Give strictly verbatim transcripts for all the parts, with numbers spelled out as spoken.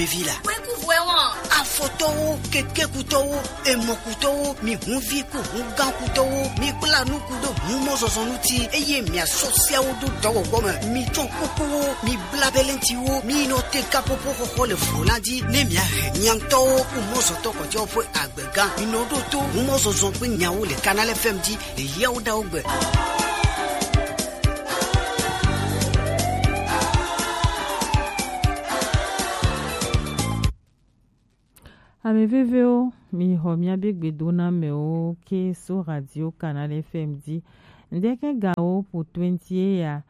Evi la. Kpekuvuɛ wɔn. Afɔtɔwo, kekekutɔwo, emɔkutɔwo, mi hunvi ku hungãkutɔwo, mi kpla nuku ɖo humɔzɔzɔ ŋuti, eye miasɔ seawo ɖo dɔwɔwɔ me. Mi tsɔ kukuwo, mi bla belentiwo, mi nɔ te kapopo xɔxɔ le flo la dzi, ne miahe miaŋtɔwo ku mɔzɔtɔ kɔtɛwo ƒe agbega. Mi nɔ ɖo to humɔzɔzɔ ƒe nyawo le Canal F M dzi le yawo ɖawo gbe. Ame vevewo, mi xɔ miabe gbedonamewo ke so Radio Canal F M dzi. Ŋdeke gawo po twenty ya,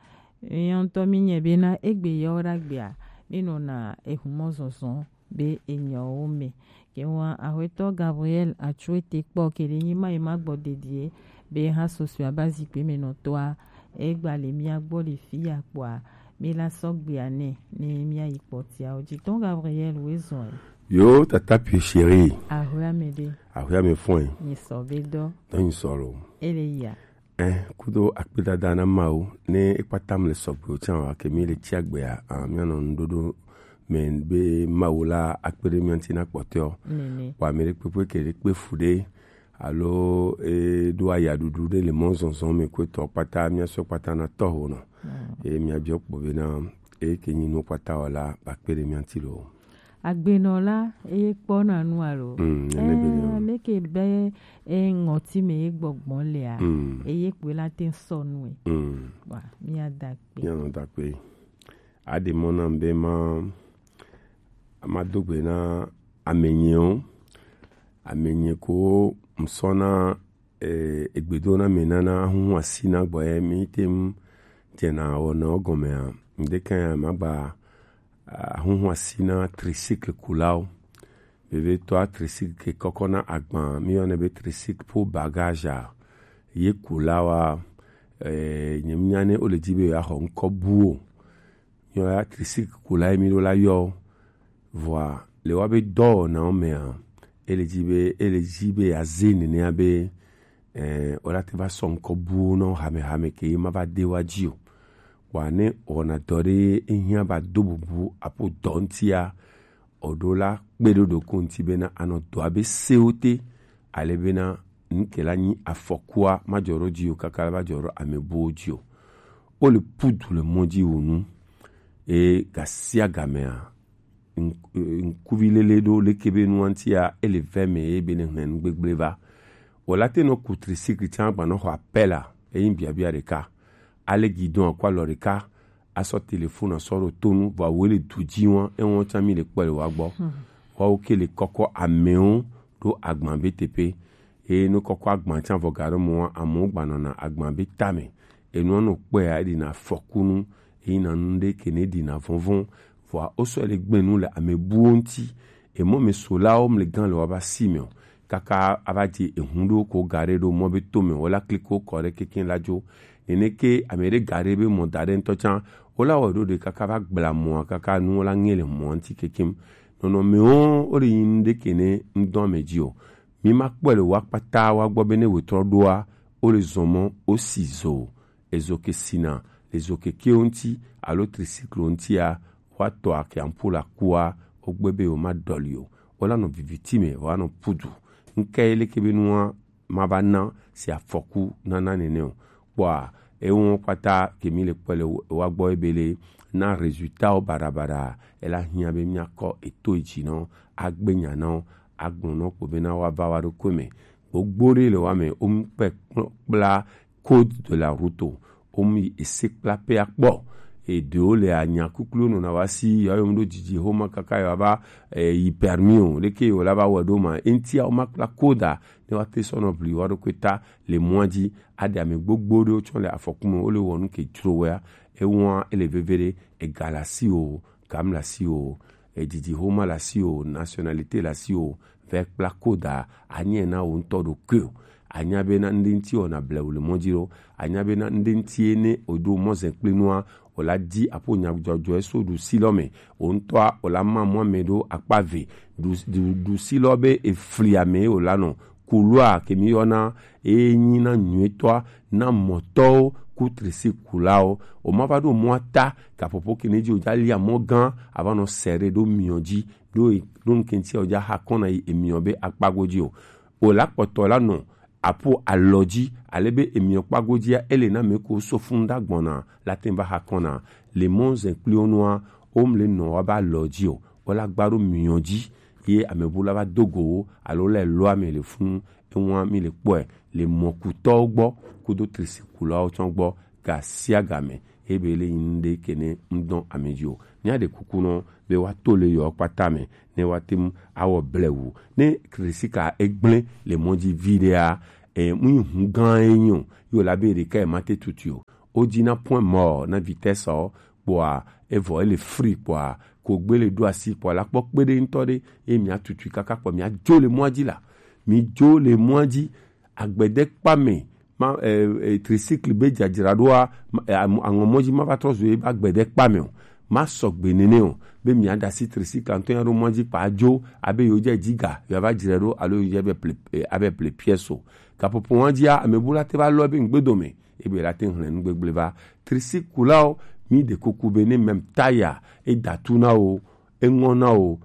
mi ŋutɔ mi nye bena egbe yawo ɖagbea, mi nɔna ehumɔzɔzɔ be enyawo me. Ke wa Aƒetɔ Gabriel Atsuete kpɔ ke ɖe nyi ma yi ma gbɔ dedie be ha sosua ba zikpe me nɔtɔa, egba le mia gbɔ le fi ya kpɔa, mi la sɔgbea nɛ ne mia yi kpɔtia o. Jitɔn Gabriel we zɔn e. Yo, tata pie chéri. Aƒea me ɖe. Aƒea me fɔn e. Nyi sɔ be dɔ. Dɔ nyi sɔ lo. Ele ya. Eh, kudo akpedada na Mawu, ne ekpata mle sɔgbe o tsan wa ke mi le tsi agbea, ah, mianɔ nuɖoɖo me be Mawu la akpe ɖe mia ŋuti na kpɔtɔewo. Nene. Wa ame ɖe kpekpe ke ɖe kpe fu ɖe, alo e ɖo ayaɖuɖu ɖe le mɔzɔzɔ me ko etɔ kpata, mia sɔ kpata na tɔho nɔ. Mm. E mia biɔ kpɔ be na e ke nyi nu kpata wala ba kpe ɖe mia ŋuti lo. Agbenɔla, eye kpɔna nu alo? Mm, nene be Eh, yo. Meke be e ŋɔti me ye gbɔgbɔ lea, Mm. Eye kpe la te sɔ nu e. Mm. Wa, mia da kpe. Mia nɔ da kpe. Aɖe mɔ nam be ma, ma do gbe na amenyewo. Amenye ko ŋsɔna, eh, egbedo na me nana ahuhu asi na gbɔ ye mi te ŋu dze na wɔna wo gɔmea. Ŋdeke ya ma gba, ah, ahuhu asi na tricycle kulawo. Vevetɔa tricycle ke kɔkɔ na agba, mi yɔnɛ be tricycle pour bagage a. Ye kulawa, eh, nye mi nya ne o le dzi be ya xɔ ŋkɔ buwo. Nyɔ ya tricycle kula ye mi ɖo la yɔ. Vɔa, le wa be dɔwɔnawo mea, ele dzi be, ele dzi be ya ze nenea be, eh, o la te va sɔ ŋkɔ buwo nɔ hamehame ke ye ma va de wa dzi o. Wa ne wɔna dɔ ɖe ehiã ba do bubu apo dɔ ŋutia, o ɖo la kpe ɖo ɖoko ŋuti bena anɔ dɔa be sewo te, ale bena nuke la nyi afɔkua ma dzɔ ɖo dzi o kaka la va dzɔ ɖo ame buwo dzi o. O le pudu le mɔ dzi wo nu. E gasia gamea, ŋ-, ŋkuvi lele ɖo leke be nua ŋutia, ele vɛ me ye be ne hlẽ nu gbegble va. O la te nɔ ku tricycle tsan gbanɔ xɔ apela, eyin biabia ɖeka. Ale gidon akɔ alɔ ɖeka, asɔ telefone asɔ ɖo tonu, vɔ awo le du dzi wa, ewɔn tsan mi le kpɔ le wa gbɔ. Hmm. Wawo ke le kɔkɔ amewo ɖo agban be teƒe. Eye ne kɔkɔ agban tsan vɔ ga ɖe mɔ wa, amewo gbanɔna agban be tame. Enua nɔ kpɔe ya, eɖina afɔkunu, eyina nu ɖe ke ne ɖina vɔvɔn. Vɔa, wosɔ le gbe nu le ame buwo ŋuti. Emɔ me solawo mle gan le wa ba si me o. Kaka ava dze ehun ɖo ko ga ɖe ɖo mɔ be to me, wola kliko kɔ ɖe keke la dzo. Nene ke ame ɖe ga ɖe be mɔ da ɖe ŋutɔ tsan, wola wɔ ɖo ɖe kaka va gbla mɔa, kaka nu wola ŋe le mɔa ŋuti kekem. Nɔnɔmewo, wo ɖe yin nu ɖe ke ne ŋdɔ ame dzi o. Mi ma kpɔe le wa kpata wa gbɔ be ne wetrɔ ɖoa, wo le zɔn mɔ, wo si zo. Ezo ke sina, ezo kekewo ŋuti, alo tricycle ŋutia, wa tɔ ake ampola kua, wo gbe be wo ma dɔli o. Wo la nɔ viviti me, wa nɔ pudu. Ŋke leke be nua ma va na si afɔku nana nene o. Kpɔa, ewo kpata ke mi le kpɔe le wa gbɔ ebe le na résultat wo baɖabaɖa, ela hiã be miakɔ eto dzi nɔ, agbe nya nɔ, agblɔ nɔ kpo be na wa va wa ɖokui me. Gbogbo ɖe le wa me, wo mu kpe kpla code de la route o. Wo mu yi ese kpla pe akpɔ. Eɖewo le anya kuklu nɔna wa si, ya yɔ mu ɖo dzidzi xoma kaka ya va, eh, yi permis o. Leke yo la va wɔ ɖo ma. Eŋtia wo ma kpla code a, ne wa te sɔ nɔ bli wa ɖokui ta le mɔa dzi. Aɖe ame gbogbo ɖewo tsɔ le afɔku me, wo le wɔ nu ke dzro wea. Ewa ele veve ɖe, ega le asi o, gam le asi o, edidi xoma le asi o, nationalité le asi o, vɛ kpla koda, anya na wo ŋutɔ ɖokui o. Anya be na ŋɖe ŋuti wɔna blewu le mɔ dzi ɖo. Anya be na ŋɖe ŋuti ye ne o ɖo mɔ zɛ kple nua, o la di aƒo nyadzɔdzɔe so ɖusi lɔ me. O ŋutɔa, o la ma mɔ ame ɖo akpa ve. Ɖu, ɖu, ɖusi lɔ be efli ame ye o la nɔ. Kulua ke mi yɔna, e nyi na nyuitɔa, na mɔtɔwo, ku tricycle kulawo. O ma va ɖo mɔa ta, gaƒoƒo ke ne dzi o ja lia mɔ gã, a va nɔ sɛ ɖe ɖo miɔ dzi, ɖo e, ɖo ŋkɛntsia o ja xa kɔna yi emiɔ be akpa godzi o. O la kpɔtɔ la nɔ apo alɔ dzi, ale be emiɔ kpa godzia, ele na me ko so fun da gbɔna, la te va xa kɔna. Le mɔ zɛ kpli wo nua, o mle nɔ wa ba alɔ dzi o, o la gba ɖo miɔ dzi, ye amebu la va do go wo, alo le lɔa me le fun, ewa mi le kpɔe, le mɔkutɔwo gbɔ, kudo trisikulawo tsɔ gbɔ, ga sia ga me, ebe le yin ɖe ke ne ŋdɔn ame dzi o. Mia ɖe kuku nɔ be wa to le yɔ kpata me, ne wa tem awɔ blewu. Ne trisika egblẽ le mɔ dzi vi ɖea, e, mu yi hu gã ye nyo, yo la be ɖeka e ma te tutu o. O dzi na point mort na vitesse o, kpɔa, evɔ ele free kpɔa, ko gbe le ɖo asi kpɔa, la kpɔ kpe ɖe ŋutɔ ɖe, ye mia tutu kaka kpɔ, mia dzo le mɔa dzi la. Mi dzo le mɔa dzi, agbede kpa me, ma, e, e, tricycle be dzadzraɖoa, ma, e, amu-, aŋɔ mɔ dzi ma va trɔ zu ye be agbede kpa me o. Ma sɔgbe nene o, be mia da asi tricycle ŋutɔ ya ɖo mɔa dzi kpa dzo, abe yo dze dzi ga, yo va dzre ɖo, alo yo dze be ple, e, abe ple pièce o. Gaƒoƒo wa dzia, ame bu la te va lɔ be ŋgbe dome, ebe la te hlẽ nu gbegble va. Trisikulawo, mi ɖe kuku be ne mem taya, e da tu na wo, e ŋɔ na wo,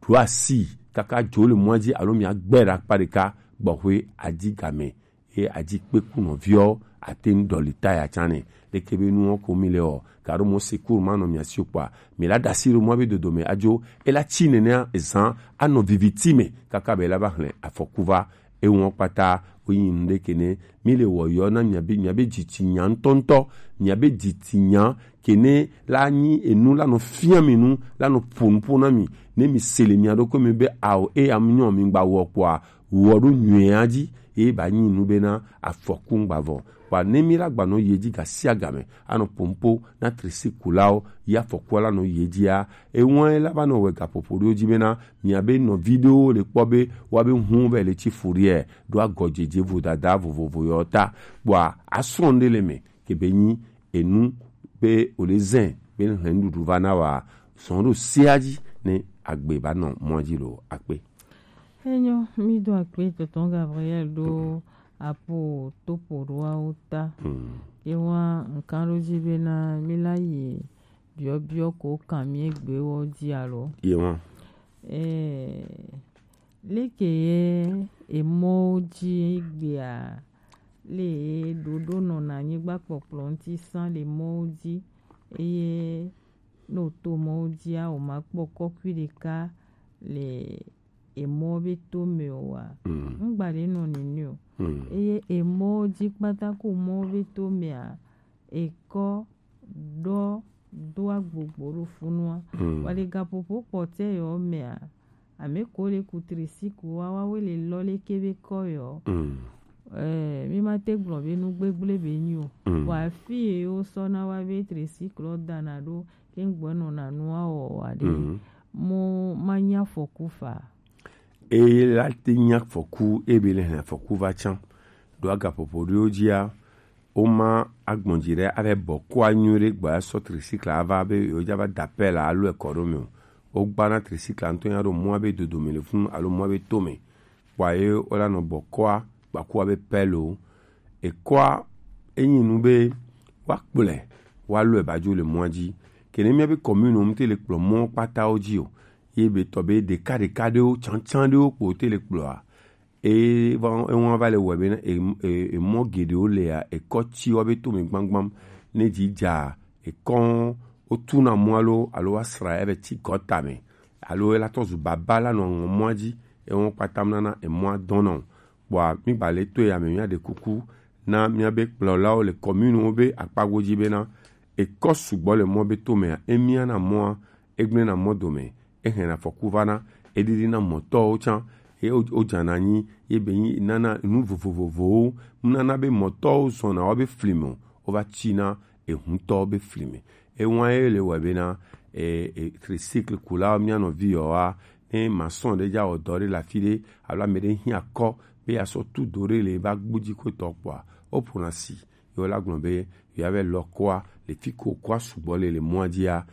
ɖo asi, kaka dzo le mɔa dzi, alo mia gbe ɖe akpa ɖeka, gbɔxwe adi game. Ye adzi kpe ku nɔviɔ, ate ŋu ɖɔli taya tsã nɛ. Leke be nuwo ko mi le ɔ, gaɖo mɔ secours ma nɔ mia si o kpɔa, mi la da asi ɖo mɔ be dodo me adzo, e la tsi nenea ezan anɔ viviti me kaka be la va hlẽ afɔku va. Ewɔ kpata wo yin nu ɖe ke ne mi le wɔ yɔ na mia be, mia be dzitsi nya ŋutɔŋutɔ, mia be dzitsi nya ke ne la nyi enu la nɔ fia mi nu, la nɔ ƒo nuƒo na mi, ne mi se le mia ɖokui mi be ao, e am nyɔ mi gba wɔ kpɔa, wɔ ɖo nyuia dzi, ye ba nyi nu bena afɔku ŋgba vɔ. Kpɔa ne mi la gba nɔ yi edzi ga sia ga me, anɔ pompo na trisikulawo, ya afɔkua la nɔ yi edzia, eŋɔe la va nɔ wɛ gaƒoƒo ɖewo dzi bena, mia be nɔvi ɖewo le kpɔ be, wa be hu be le tsi fu ɖie, ɖo agɔdzedze vodada vovovo yɔ ta. Kpɔa asrɔ̃ ɖe le me, ke be nyi enu be o le zɛ, be hlẽ nuɖuɖu va na wa, sɔn ɖo sia dzi ne agbe ba nɔ mɔ dzi lo akpe. Enyo, mi do akpe tonton Gabriel ɖo apo topo ɖoawo ta. Hmm. Ye wa nkan ɖo dzi bena mi la yi biɔbiɔ ko kan mi egbe wɔ dzi alo. Ye wa. Eh, leke ye emɔwo dzi egbea le ɖoɖo nɔna anyigba kpɔkplɔ ŋuti sã le mɔwo dzi eye ne o to mɔwo dzia o ma kpɔ kɔkui ɖeka le emɔ be to me o wa. Mm. Ŋgba ɖe nɔ nene o. Mm. Eye emɔ dzi kpata ko mɔ be to mea, ekɔ ɖɔ do agbogbo ɖo funua. Mm. Wa le gaƒoƒo kpɔtɛ yɔ mea, ame ko le ku trisikula wa, wa we le lɔ le ke be kɔ yɔ. Mm. Eh, mi ma te gblɔ be nu gbegble be nyi o. Mm. Wa fi ye wo sɔ na wa be trisikula dana ɖo ke ŋgbɔ nɔ na nua wɔ wa ɖe. Mm. Mo ma nya afɔku fa. Eye la te nya afɔku, ebe le hɛn afɔku va tsã. Ɖo agaƒoƒo ɖewo dzia, woma agbɔn dzi ɖe ave bɔ kɔa nyuie ɖe gbɔ asɔ trisikla ava be yewo dza va da pɛla alo ekɔ ɖo me o. Wogbana trisikla ŋutɔ ya ɖo mɔa be dodome le funu alo mɔa be tome. Kpɔa ye wola nɔ bɔ kɔa, gbakua be pɛlo. Ekɔa, enyi nu be woakplɔe, woalɔe badzo le mɔa dzi. Ke ne míabe commune wo ŋute le kplɔ mɔ kpatawo dzi o, ye be tɔ be ɖeka ɖeka ɖewo, tsantsan ɖewo kpo te le kplɔa, e va, ewa va le wɔe be e, e, emɔ geɖewo lea, ekɔ tsi woabe tome gbagbam, ne dzi dza, ekɔ wotuna mɔ alo, alo woasra ebe tsi gɔta me, alo ela tɔ zu baba la nɔ aŋɔ mɔa dzi, ewa kpata nana emɔa dɔnɔ. Kpɔa, mi gba le to ya me, míaɖe kuku na míabe kplɔlawo le commune wo be akpa godzi bena, ekɔ sugbɔ le mɔ be tomea, emiana mɔa, egblẽna mɔ dome, ehɛna afɔku vana, eɖiɖina mɔtɔwo tsã, ye wo, wodzana anyi, ye be nyi nana nu vovovovowo, nana be mɔtɔwo zɔna woabe fli me o, wova tsina ehuntɔwo be fli me. Ewa ye le wɔe bena, e, e, tricycle kulawo mía nɔvi yɔwoa, ne maçon ɖe dza wɔ dɔ ɖe le afi ɖe, alo ame ɖe hiã kɔ be yeasɔ tu do ɖe le eba gbudzi ko tɔ kpɔa, woƒona si, ye wola gblɔ be yewoava lɔ kɔa le fi ko kɔa sugbɔ le, le mɔa dzia.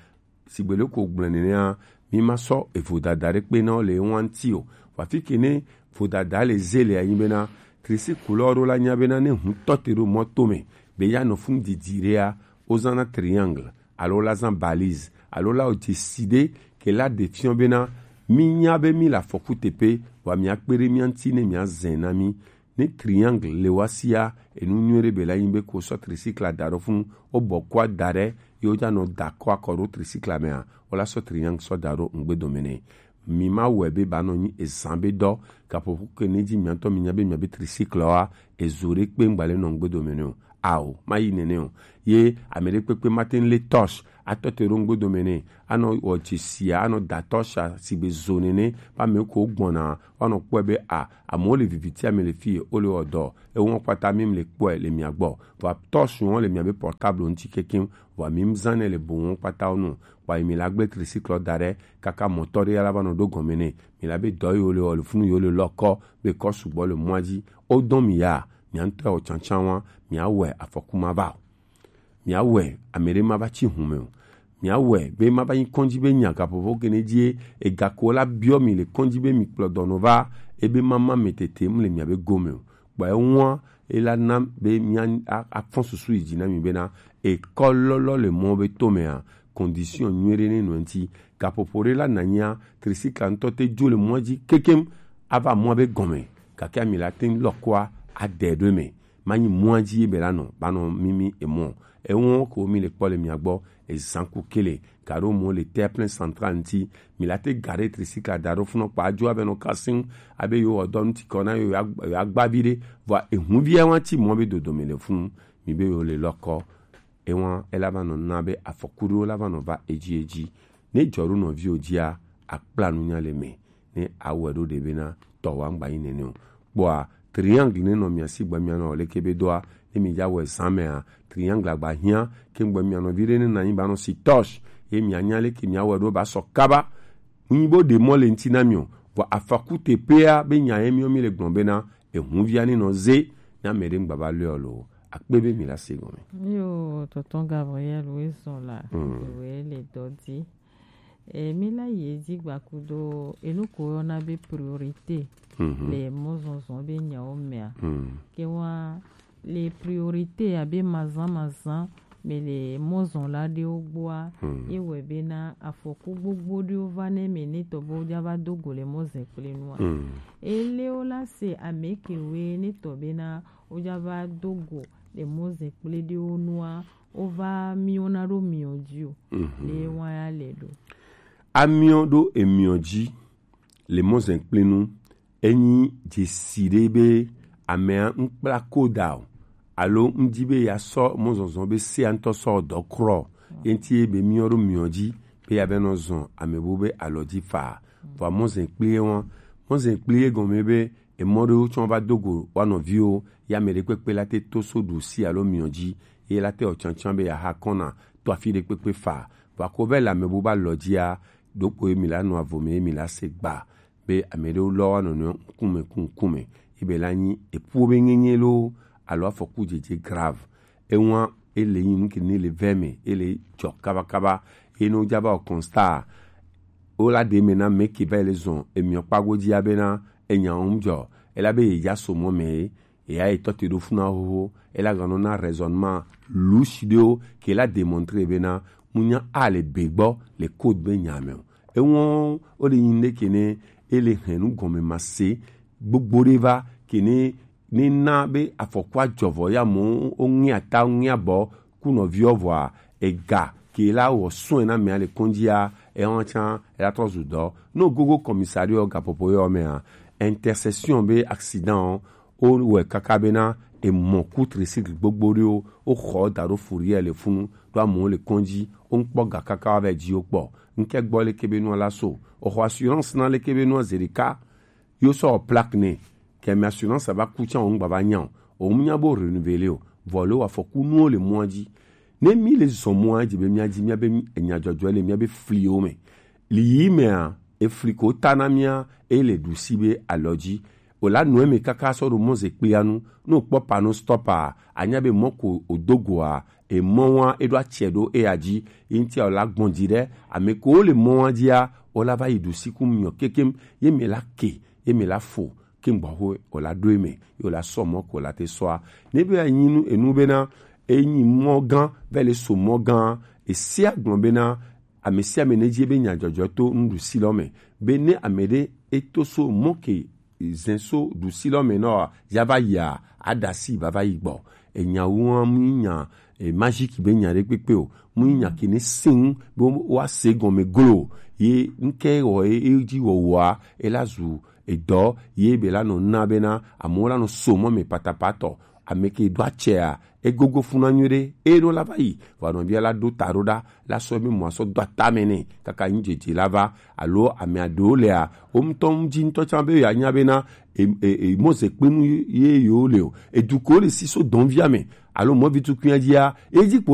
Sigbe leke wogblɔe nenea, mi ma sɔ evodada ɖe kpe na wo le ewa ŋuti o. Vɔ afi ke ne vodada le ze le anyi bena, tricycle lɔ ɖo la nya bena ne hu tɔ te ɖo mɔ tome, Be ya nɔ fun didi ɖea, wozãna triangle, alo la zã balise, alo la wɔ dzesi ɖe ke la ɖe fiɔ bena mi nya be mi le afɔku teƒe, vɔa mia kpe ɖe mia ŋuti ne mia zɛ na mi. Ne triangle le wa sia, enu nyuie ɖe be la nyi be ko sɔ tricycle da ɖo funu, wo bɔ kua da ɖe, ye wo ja nɔ da kɔ akɔ ɖo tricycle mea, wo la sɔ triangle sɔ da ɖo ŋgbe dome nɛ. Mi ma wɔe be ba nɔ nyi ezã be dɔ, gaƒoƒo ke ne dzi mia ŋutɔ mi nya be mia be tricycle wa, ezo ɖe kpe ŋgba le nɔ ŋgbe dome nɛ o. Ao, ma yi nene o. Ye ame ɖe kpekpe ma te ŋu le torche atɔ te ɖo ŋgbe dome nɛ. Anɔ wɔ dzesia, anɔ da torche a sigbe zo nene. Ba me ko gbɔna, woanɔ kpɔe be a, amewo le viviti ame le fi ye, wo le wɔ dɔ. Ewo kpata mi le kpɔe le mia gbɔ. Vɔa torche wo le mia be portable ŋuti kekeŋ. Vɔa mi zã nɛ le bo wo kpata wo nu. Kpa yi mi la gble tricycle da ɖe, kaka mɔtɔ ɖe ya la va nɔ ɖo gɔme nɛ. Mi la be dɔ yi wo le wɔ le funu yi wo le lɔ kɔ, be kɔ sugbɔ le mɔa dzi. Wo dɔn mi ya, mia ŋutɔ wɔ tsantsan wa, mia wɔe afɔku ma va o. Mia wɔe ame ɖe ma va tsi hume o. Mia wɔe be ma va nyi kɔndzi be nya gaƒoƒo ke ne dzie, egako la biɔ mi le kɔndzi be mi kplɔ dɔnɔ va, ebe ma ma me tete mu le mia be gome o. Kpɔ eŋua, ela na be mia a- afɔ susu yi dzi na mi bena ekɔ lɔlɔ le mɔ be to mea, condition nyuie ɖe ne nɔ ŋuti. Gaƒoƒo ɖe la nanya, tricycle ŋutɔ te dzo le mɔa dzi kekem ava mɔa be gɔme, gake ami la te ŋu lɔ kɔa ade ɖo eme. Manyi mɔa dzi ye be la nɔ ba nɔ mimi emɔ. Ewɔ ko mi le kpɔ le mia gbɔ, ezan ku kele, garo mo le terre plein central ŋuti. Mi la te gare tricycle da ɖo funɔ kpa dzo abe nɔ kasin, abe yo wɔ dɔ ŋuti kɔ na yo ya- yo agba vi ɖe. Vɔa ehun via wa ti mɔ be dodome le funu, mi be yo le lɔkɔ. Ewa ela va nɔ na be afɔku ɖewo la va nɔ va edzi edzi. Ne dzɔ ɖo nɔviwo dzia, akpla nunya le me. Ne awɔe ɖo ɖe bena tɔ wa ŋgba yi nene o. Kpɔa, triangle ne nɔ mia si gbe mia nɔ leke be doa, ne mi dza wɔe zã mea, triangle agba hiã, ke ŋgbe mia nɔvi ɖe ne na nyi ba nɔ si torche, ye mia nya leke mia wɔe ɖo ba sɔ kaba. Nyi bo ɖe mɔ le ŋuti na mi o. Vɔ afɔku teƒea be nya ye miwo mi le gblɔ bena, ehun via ne nɔ ze, ne ame ɖe ŋgba va lɔe o lo. Akpe be mi la se gɔme. Yo, tonton Gabriel, oui, sont là. Mm. Oui, les dodi. E, mi la yi edzi gbakudo enu ko woyɔna be priorité Mhm. le mɔzɔzɔ be nyawo mea. Mm. Ke wa le priorité abe mazã mazã me le mɔzɔla ɖewo gbɔa, Mm. ye wɔe bena afɔku gbogbo ɖewo va ne me ne tɔ be woja va do go le mɔzɔkpli nua. Mm. Ele wo la se ame kewoe ne tɔ bena woja va do go le mɔzɔkpli ɖewo nua, wova miɔna ɖo miɔ dzi o. Mhm. Le wa ya le ɖo. Amiɔ ɖo emiɔ dzi le mɔzɔkpli nu, enyi dzesi ɖe be amea ŋkpla koda o, alo ŋdi be ya sɔ mɔzɔzɔ be sea ŋutɔ sɔ dɔ krɔ, ye ŋti ye be miɔ ɖo miɔ dzi be ya be nɔ zɔn ame bu be alɔ dzi fa. Vɔ mɔzɔkpli ye wa, mɔzɔkpli ye gɔme be emɔ ɖewo tsɔ va do go wa nɔviwo, ya ame ɖe kpekpe la te to so ɖusi alo miɔ dzi, ye la te wɔ tsantsan be ya ha kɔna to afi ɖe kpekpe fa. Vɔ ko vɛ le ame bu ba lɔ dzia, ɖokpo ye mi la nɔ avo me ye mi la se gba be ame ɖewo lɔ wa nɔnɔe ŋkume ku ŋkume, ye be la nyi epuwo be nyenye loo, alo afɔku dzedze grave. Ewa ele nyi nu ke ne le vɛ me, ele dzɔ kabakaba, ye ne wo dza va wɔ constat, wo la ɖe me na me ke va le zɔn emiɔ kpago dzi abena enya wo ŋdzɔ, ela be ye dza so mɔ me ye, eya etɔ te ɖo funa xoxo, ela ganɔ na raisonnement louche ɖewo ke la démontrer bena munya a le be gbɔ le code be nya me o. Eŋɔ wo le nyi ɖe ke ne ele hɛn nu gɔme ma se gbogbo ɖe va ke ne ne na be afɔkua dzɔ vɔ ya mo wo ŋe ata wo ŋe abɔ ku nɔviɔ vɔa ega ke la wɔ sɔe na mea le kɔndzia ewa tsa ela trɔ zu dɔ. No gogo commissariat gapopo yɔ mea intercession be accident o, wo wɔe kaka bena emɔ ku tricycle gbogbo ɖewo, wo xɔ da ɖo fourrière le funu, ɖo amewo le kɔndzi, wo ŋkpɔ ga kaka va dzi wo kpɔ. Ŋkɛ gbɔ leke be nua la so. O xɔ assurance na leke be nua zerika, yo sɔ plaque ne. Kɛ mi assurance va ku tsa o ŋgba va nya o. O mu nya bo renouveler o. Vɔ le wa fɔku nuwo le mɔa dzi. Ne mi le zɔn mɔa dzi be mia dzi mia be enya dzɔdzɔ le mia be fliwo me. Li yi mea, efli ko ta na mia, e le ɖusi be alɔ dzi. O la nɔ eme kaka sɔ ɖo mɔzekpuia nu. Ne o kpɔ panneau stop a, anya be mɔ ko o do goa, emɔ wa e ɖo atsɛ ɖo eya dzi. Yi ŋutia o la gbɔn dzi ɖe, ame ko le mɔ wa dzia, o la va yi ɖusi ku miɔ kekem, ye me la ke, ye me la fo, ke ŋgbɔ ho o la ɖo eme, ye o la sɔ mɔ ko la te sɔa. Ne be anyi nu enu bena, Enyi mɔ gã vɛ le so mɔ gã. Esi agblɔ bena ame sia ame ne dzi be nya dzɔdzɔ to nuɖusi lɔ me, be ne ame ɖe eto so mɔ ke zɛn so ɖusi lɔ me nɔ ya va yia, aɖasi va va yi gbɔ. Enya wu hã mu nya e magique be nya ɖe kpekpe o, mu nya ke ne sin be wa se gɔme glo. Ye nke wɔ e dzi wɔwɔa, e la zu edɔ ye be la nɔ na bena amewo la nɔ so mɔ me patapatɔ. Ame ke do atsɛa, egogo funa nyuie ɖe, eye ɖo la va yi vɔ nɔvia la ɖo ta ɖo ɖa, la sɔ be mɔ asɔ do atame nɛ kaka nyi dzedze la va. Alo ame aɖewo lea, wo ŋutɔ ŋdi ŋutɔ tsã be yeanya bena e- e- e- mɔzekpenu ye yewo le o, edu ko le si so dɔnvia me alo mɔvi tukunya dzia, edzi kpo